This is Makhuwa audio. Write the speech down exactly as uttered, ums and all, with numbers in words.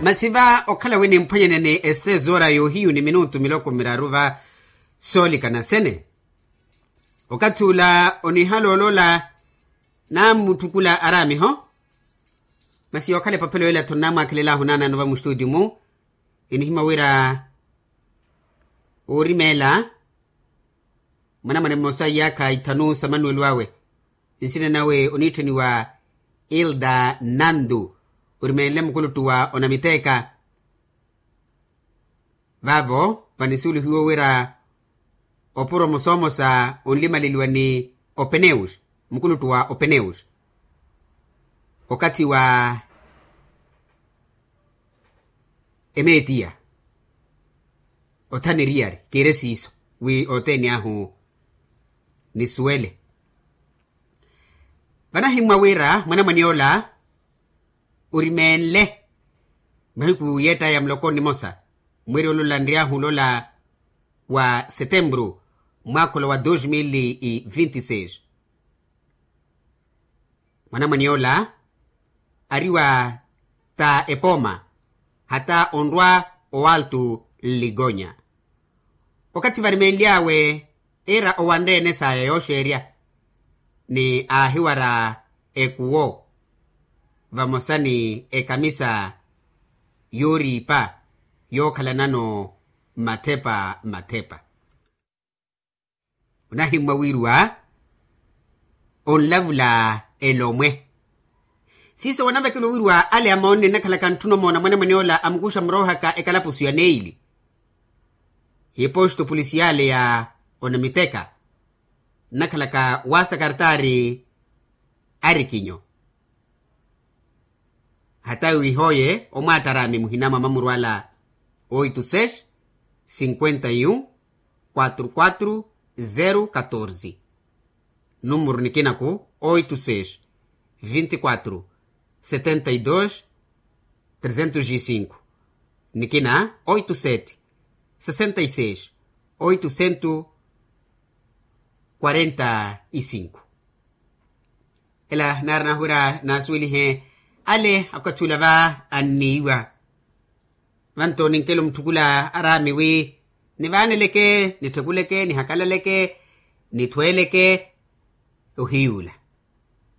Masi va okhala wi nimphwanyane ni esezoora yoohiyu ni minutu miloko miraru va soolikana sene. Okathi ula onihala olola naamutthukula araamiho. Masi yookhala epaphelo ela tho nnamwaakhelelaahu naanaano va mustuuti-mu. Enihimya wira oorimeela mwanamwane mmosa iyaakha ithanu sa manuwelo awe. Nsina nawe oniitthaniwa ilda nandu. Orimeenle mukuluttu wa onamiteeka. Vaavo vanisuwelihiwa wira opuro mosoomosa onlimaleliwa ni openeus, mukuluttu wa openeus okathi wa emeetiya. Othana eriyari kiire siiso wi othene ahu nisuwele. Vanahimmwa wira mwanamwane ola orimeenle mahiku yeettaya muloko nimosa mweeri olola nryahu olola wa setemburu mwaakha ola wa dos mil e vinti seis. Mwanamwane ola ari wa ta epooma hata onrwa owaltu nligonya. Okathi varimeenly'awe iira owanre-ene saya yooxeerya ni aahiwara ekuwo vamosa ni ekamisa yooriipa yookhalanano mathepa mathepa. Onahimmwa wiiruwa onlavula elomwe siiso wanavekela owiiruwa ale amoonne nnakhalaka ntthuna omoona mwanamwane ola amukuxa muroohaka ekalapusu ya neili. Hiposto pulisiyale ya onamiteka nnakhalaka wa sakartaari arikinyo. Hata wihooye omwaattaraami muhina mwa mamurwala oito seis cinquenta e um quatro quatro zero catorze. Numuru nikinaku oito seis vinte quatro setenta e dos trezentos e cinco. Nikina oito sete sessenta e seis oito cento quarenta e cinco. Ela naarina wira naasuwelihe ale akathi ula va anniiwa. Vanto ninkela omutthukula araami wi nivaaneleke nitthukuleke nihakalaleke nithweeleke. Ohiyuula